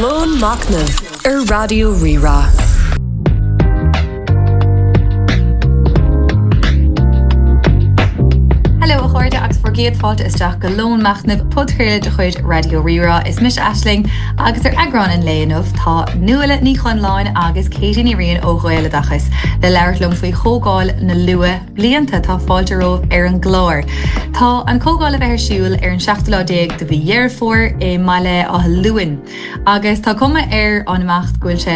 Lón Machnaimh ar Raidió Rí-Rá. Hello a chairde agus bhur gcéad fáilte isteach go Lón Machnaimh, podchraoladh de chuid Raidió Rí-Rá. Is mise Aisling agus ar eagrán an lae inniu tá Nuala Ní Chonláin agus Katie Ní Riain ó Ghaeloideachas le labhairt liom faoi Chomhdháil na Luath Blianta. Tá fáilte romhaibh ar an gclár. Tá an chomhdháil le bheith ar siúl ar an seachtú lá déag de mhí Dheireadh Fómhair i mBaile Átha Luain agus tá cuma ar an imeacht go bhfuil sé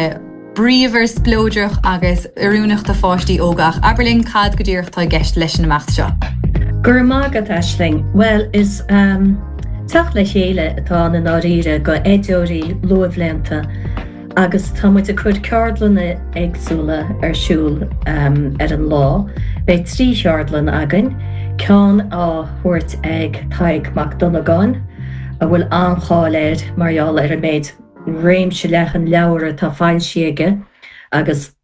bríomhar, spleodrach agus oiriúnach do pháistí óga ach abair linn cad go díreach atá i gceist leis an imeacht seo? Go raibh maith agat Aisling. Bhuel is teacht le chéile atá ann i ndáiríre go oideoirí luathbhlianta. Agus tá muid ag cur ceardlanna éagsúla ar siúl ar an lá. Beidh 3 cheardlann againn, ceann á thabhairt ag Tadhg Mac Dhonnagáin, a bhfuil an-cháil air mar gheall ar an méid réimse leathan leabhar atá foilsithe aige agus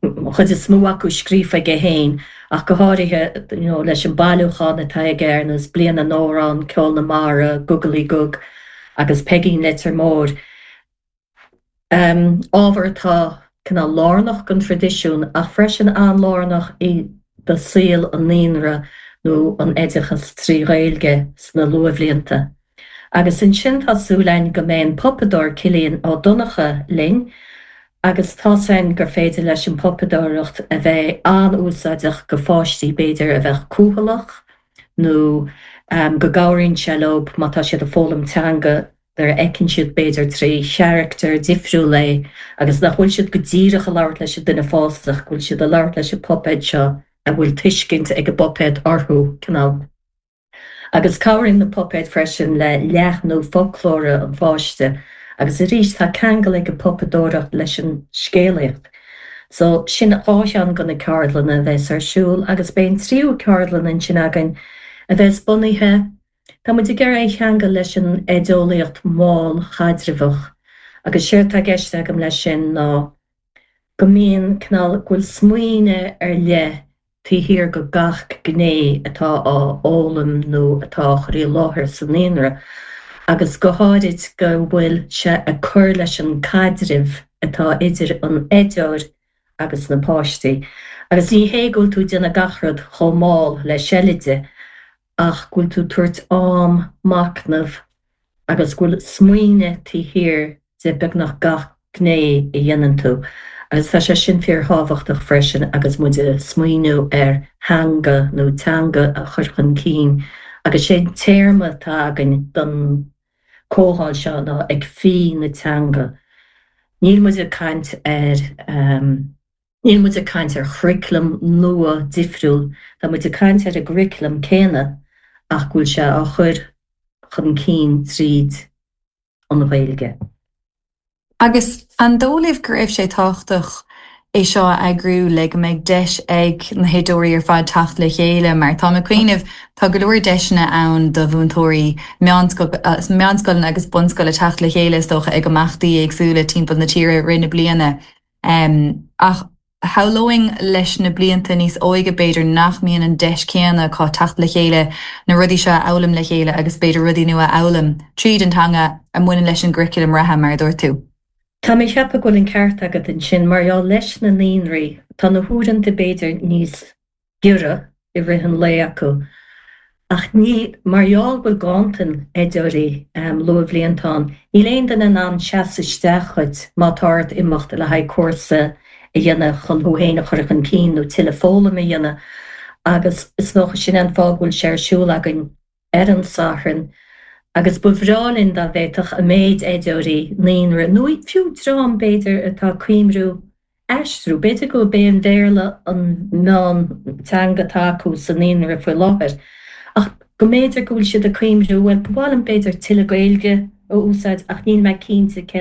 an chuid is mó acu scríofa aige féin, ach go háirithe you know leis an bailiúchán atá aige ar nós Bliain na nAmhrán, Ceol na Mara, Gugalaí Gug agus Peigín Leitir Móir. Ábhar atá cineál lárnach don traidisiún ach freisin an-lárnach i do saol an naíonra nó an oideachas trí Ghaeilge sna luathbhlianta. Agus ansin tá súil againn go mbeidh an puipeadóir Cillian Ó Donnchadha linn agus tá's againn gur féidir leis an puipeadóireacht a bheith an-úsáideach go pháistí b'fhéidir a bheadh cúthaileach nó go gcabhraíonn sé leo má tá siad ag foghlaim teanga nuair a fheiceann siad b'fhéidir trí charachtar difriúil é agus nach bhfuil siad go díreach ag labhairt leis an duine fásta ach go bhfuil siad ag labhairt leis an puipéad seo a bhfuil tuiscint ag an bpuipéad orthu, cineál. Agus cabhraíonn na puipéid freisin le leathnú foclóra an pháiste agus arís tá ceangal ag an bpuipeadóireacht leis an scéalaíocht. So sin dhá cheann de na ceardlanna a bheas ar siúl agus beidh an tríú ceardlann ansin againn a bheas bunaithe Tá muid ag iarraidh é a cheangal leis an oideolaíocht mhall chaidreamhach agus séard tá i gceist agam leis sin ná go mbíonn cineál, go bhfuil smaoineamh ar leith taobh thiar go gach gné atá á fhoghlaim nó atá á chur i láthair sa naíonra agus go háirid go bhfuil sé ag cur leis an caidreamh atá idir an oideoir agus na páistí. Agus ní hé go bhfuil tú ag déanamh gach rud chomh mall le seilide ach go bhfuil tú ag tabhairt am machnaimh agus go bhfuil smaoineamh taobh thiar de beagnach gach gné a dhéanann tú. Agus tá sé sin fíorthábhachtach freisin agus muid ag smaoineamh ar theanga nó teanga a chur chun cinn agus sé an téarma atá againn don comhdháil seo ná ag fí na teanga. Níl muid ag caint ar. Níl muid ag caint ar churaclam nua difriúil, tá muid ag caint ar an gcuraclam céanna ach go bhfuil sé á chur chun cinn tríd an Ghaeilge. Agus an dóigh libh go raibh sé tábhachtach é seo a eagrú le go mbeidh deis ag na hoideoirí ar fad teacht le chéile mar táim ag cuimhneamh tá go leor deiseanna ann do mhúinteoirí meánscoileanna agus bunscoile teacht le chéile is dócha ag imeachtaí éagsúla timpeall na tíre i rith na bliana. Ach shamhlóinn leis na blianta níos óige b'fhéidir nach mbíonn an deis céanna acu teacht le chéile, na rudaí seo a fhoghlaim le chéile agus b'fhéidir rudaí nua a fhoghlaim tríd an teanga a mbaineann leis an gcuraclam reatha, mar a dúirt tú. Tá mé ag ceapadh go bhfuil an ceart agat ansin. Mar gheall leis na naíonraí, tá na huaireanta b'fhéidir níos giorra i rith an lae acu. Ach ní, mar gheall go bhfuil ganntan oideoirí luathbhlianta ann, níl aon duine in ann seasamh isteach dhuit má tá ort imeacht le haghaidh cúrsa a dhéanamh chun thú féin a chur chun cinn nó tuilleadh foghlama a dhéanamh agus is dócha sin é an fáth go bhfuil sé ar siúl againn ar an Satharn agus ba bhreá linn dá bhféadfadh an méid oideoirí naíonra nó fiú dream b'fhéidir atá ag cuimriú aistriú, b'fhéidir gurb é an Béarla an meán teanga atá acu sa naíonra faoi láthair ach go mb'fhéidir go bhfuil siad ag cuimriú, bhuel ba mhaith liom b'fhéidir tuilleadh Gaeilge a úsáid ach níl mé cinnte cén.